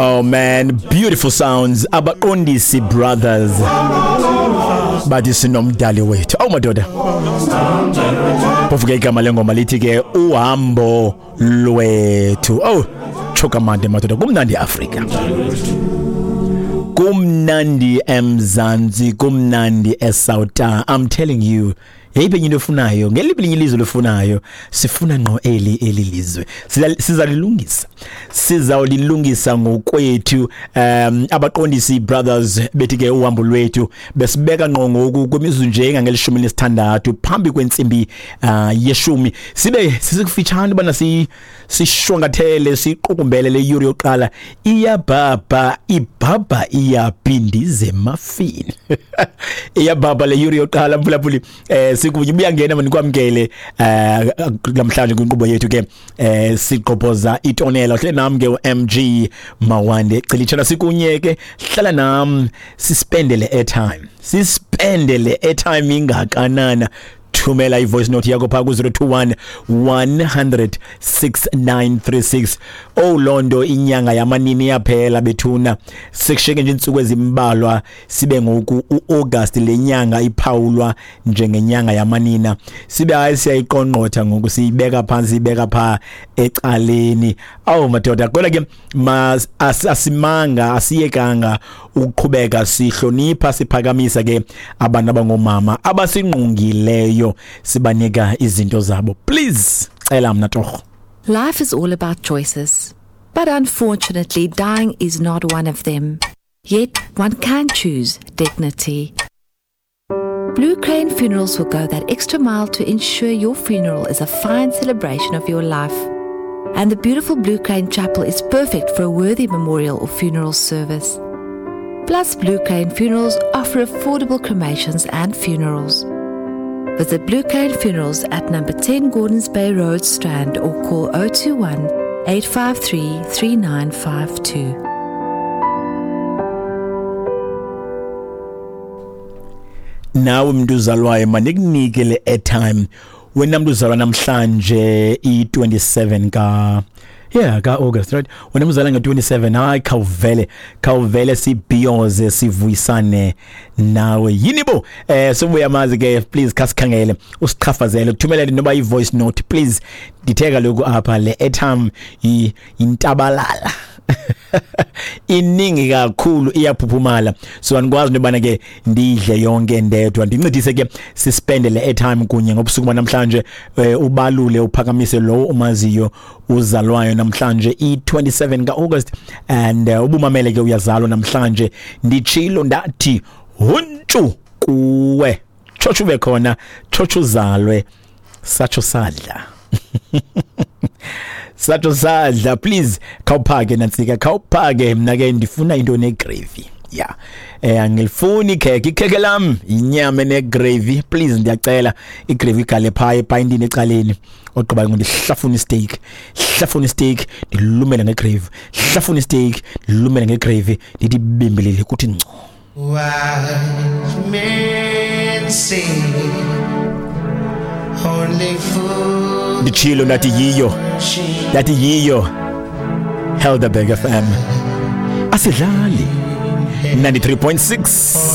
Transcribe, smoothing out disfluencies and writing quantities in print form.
Oh man, beautiful sounds. Abaqondisi Brothers. Bathi sinomdali wethu. Awu madoda. Phofu ke igama lengoma lithi ke uhambo lwethu. Oh, chokamande madoda kumnandi Afrika. Kumnandi eMzansi, kumnandi eSouth. I'm telling you. Yeyiphi enye into ofunayo? Ngeliphi elinye ilizwe lofunayo? Sifuna ngqo eli lizwe. Sizalilungisa. Sizawulilungisa ngokwethu. Abaqondisi Brothers bethi ke uhambo lwethu besibeka ngqo ngoku kwimizuzu nje engangelishumi nesithandathu phambi kwentsimbi yeshumi. Sibe sisikufitshane bana sishwangathele siqukumbele le yuri yokuqala. Iyabhabha ibhabha iyaphindize emafini. Iyabhabha le yuri yokuqala mphulaphuli. Sikunye ubuyangena manikwamkele namhlanje kwinkqubo yethu ke siqophoza itonela hle nam ke uMG Mawande Cilitshana sikunye ke hlala nam sispendele airtime sispendele airtime ingakanana. Thumela i-voice note yakho phaa ku-021 100 6936. Oh londo inyanga yamanini yaphela bethuna sekusheke nje intsuku ezimbalwa sibe ngoku uAugust le nyanga iphawulwa njengenyanga yamanina sibe hayi siyayiqongqotha ngoku siyibeka phansi ibeka pha ecaleni. Awu madoda kodwa ke asimanga asiyekanga ukuqhubeka sihlonipha siphakamisa ke abantu abangomama abasingqungileyo sibanika izinto zabo. Please cela mna torho. Life is all about choices, but unfortunately dying is not one of them. Yet one can choose dignity. Blue Crane Funerals will go that extra mile to ensure your funeral is a fine celebration of your life. And the beautiful Blue Crane Chapel is perfect for a worthy memorial or funeral service. Plus, Blue Crane Funerals offer affordable cremations and funerals. Visit Blue Crane Funerals at number 10 Gordons Bay Road, Strand, or call 021 853 3952. Nawe mntu uzalwayo mandikunike le airtime. Wena mntu uzalwa namhlanje i-27 ka August, right? Wena mzala nge-27, hayi khawuvele sibhiyoze sivuyisane nawe. Yini bo? Sobuya mazi ke please khasikhangele usichafazele uthumelele noba i-voice note please. Ndithe kaloku apha le airtime intabalala. Iningi kakhulu iyaphuphumala so andikwazi into yobana ke ndidle yonke ndedwa. Ndincedise ke sispende le airtime kunye ngobusuku banamhlanje. Ubalule uphakamise lowo umaziyo uzalwayo namhlanje i-27 ka-August and ubumamele ke uyazalwa namhlanje. Nditshilo ndathi huntshu kuwe tshotsho ube khona tshotsho uzalwe satsho sadla. Satsho sadla. Please khawuphake nantsika khawuphake mna ke ndifuna into negravy. Yeah. Angilifuni ikhekhe ikhekhe lam inyama enegravy please ndiyacela igravy igale phaa epayintini ecaleni ogqiba ndihlafuna isteak hlafuna isteak ndilumele ngegravy hlafuna isteak ndilumele ngegravy ndithi bimbilele kuthi ngco. Wise men say only fools Nditshilo ndathi yiyo Helderberg FM asidlali 93.6.